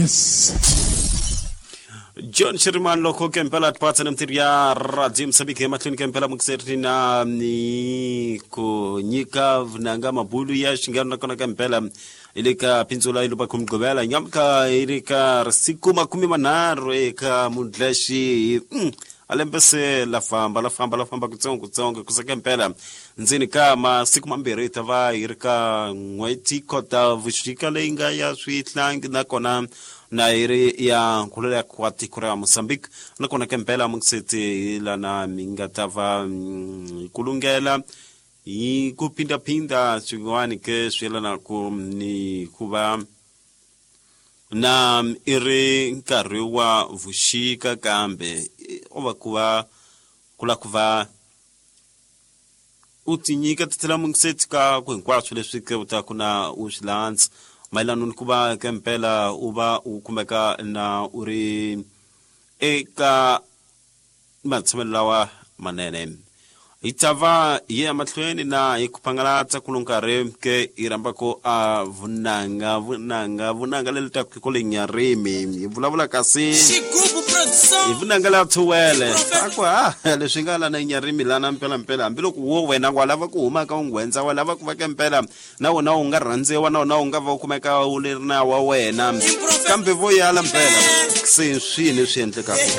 Yes. John Shirimani loko ke mpela tipatsa na mintirho ya radio Mozambique emahlweni ke mpela mukiseri na ni ku nyika vunanga mabulu ya xingano nakona ka mpela hi le ka pindzula yi lupa khumugqivela nyamuka yi ri ka siku 30 eka mudlaxi a lembe se la famba la famba la famba kutsongo kutsongo kuseka mpela ndzeni ka masiku mambirhi hi ta va hi ri ka n'hweti kota vuxika leyi nga ya swihlangi nakona na yi ri ya nkhululo ya kwa tiko ra Mozambique nakona ke mpela mungiseti hi lana mi nga ta va hi kulungela hi ku phindaphinda swin'wana ke swi yelanaku ni ku va na i ri nkarhi wa vuxika kambe o va ku va ku la ku va u tinyika titela mungiseti ka ku hinkwaswo leswi ke u ta ku na u swi landza mayelana ni ku va ke mpela u va u kumeka na u ri eka matshamelo lawa manene hi ta va hi ya mahlweni na hi ku phangalatsa kulo nkarhi ke hi rhambako a vunanga vunanga vunanga leri taku ko le nyarimi hi vulavula kasi Xigubu produção. hi vunanga la thuwele a ku ha leswi nga lana nyarimi lana mpelampela hambiloko wo wena wa lava ku huma ka unghwendza wa lava ku va ke mpela na wona u nga rhandziwa na wona u nga va u kumeka u leri na wa wena kambe vo yala mpela se swini swi endlekaka.